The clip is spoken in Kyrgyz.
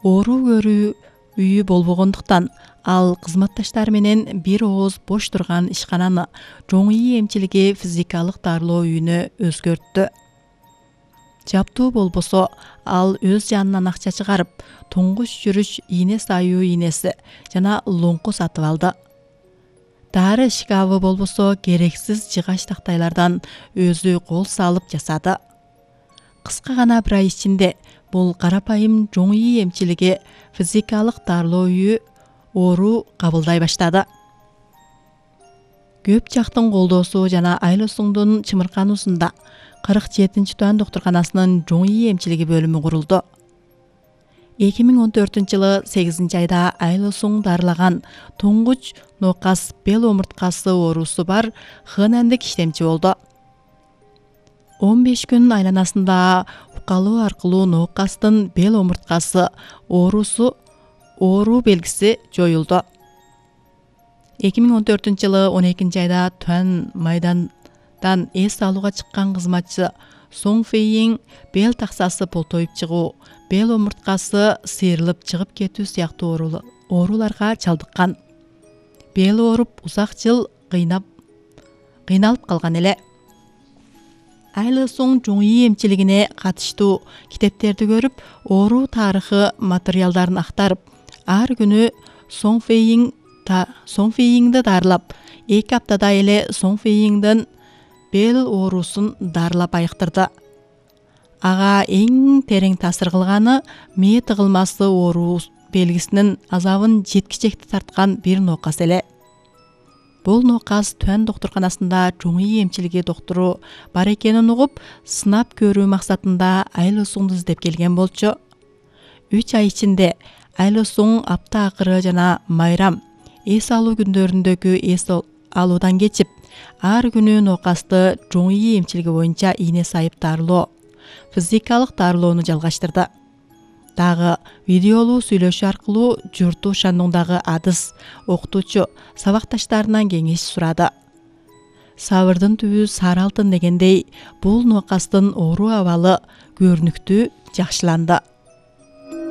Оору көрүү үйү болбогондуктан ал кызматташтары менен бир ооз бош турган ишкананы Жоң үй эмчилиги физикалык дарылоо үйүнө өзгөрттү. Жаптуу болбосо ал өз жанынан акча чыгарып, туңгуч жүрүш ийне саюу ийнеси жана лоңку сатып алды. Дары шкафы болбосо керексиз жыгач тактайлардан өзү кол салып жасады. Кыска гана бир ай ичинде бул карапайым Жоң үй эмчилиги физикалык дарылоо үйү оору кабылдай баштады. Көп жактын колдоосу жана айлосуңдун чымыркануусунда 47-Туан доктурканасынын Жоң үй эмчилиги бөлүмү курулду. 2014-жылы 8-айда айлосуң дарылаган туңгуч ноокас бел омурткасы оорусу бар ХННдик иштемчи болду. 15 күн айланасында укалоо аркылуу ноокастын бел омурткасы оору белгиси жоюлду. 2014-жылы 12-айда Туан майдандан эс алууга чыккан кызматчы Соң Фейин бел таксасы полтоюп чыгуу, бел омурткасы сыйрылып чыгып кетүү сыяктуу ооруларга чалдыккан. Бел ооруп узак жыл кыйналып калган эле. Айлысуң Жоң үй эмчилигине катыштуу китептерди көрүп, оору тарыхы материалдарын актарып, ар күнү Соң Фейинди дарылап, 2 аптада эле Соң Фейиндин бел оорусун дарылап айыктырды. Ага эң терең таасир кылганы мээ тыгылмасы оору белгисинин азабын жеткичекти тарткан бир ноокас эле. Бул ноокас Туан доктурканасында Жоң үй эмчилиги доктуру бар экенин угуп, сынап көрүү максатында айлосуңду издеп келген болчу. 3 ай ичинде айлосуң апта акыры жана майрам эс алуу күндөрүндөгү эс алуудан кечип, ар күнү ноокасты Жоң үй эмчилиги боюнча ийне сайып дарылоо, физикалык дарылоону жалгаштырды. Дагы видеолуу сүйлөшүү аркылуу журту шандуңдагы адыс, окутуучу, сабакташтарынан кеңеш сурады. Сабырдын түбү сары алтын дегендей, бул ноокастын оору абалы көрүнүктүү жакшыланды.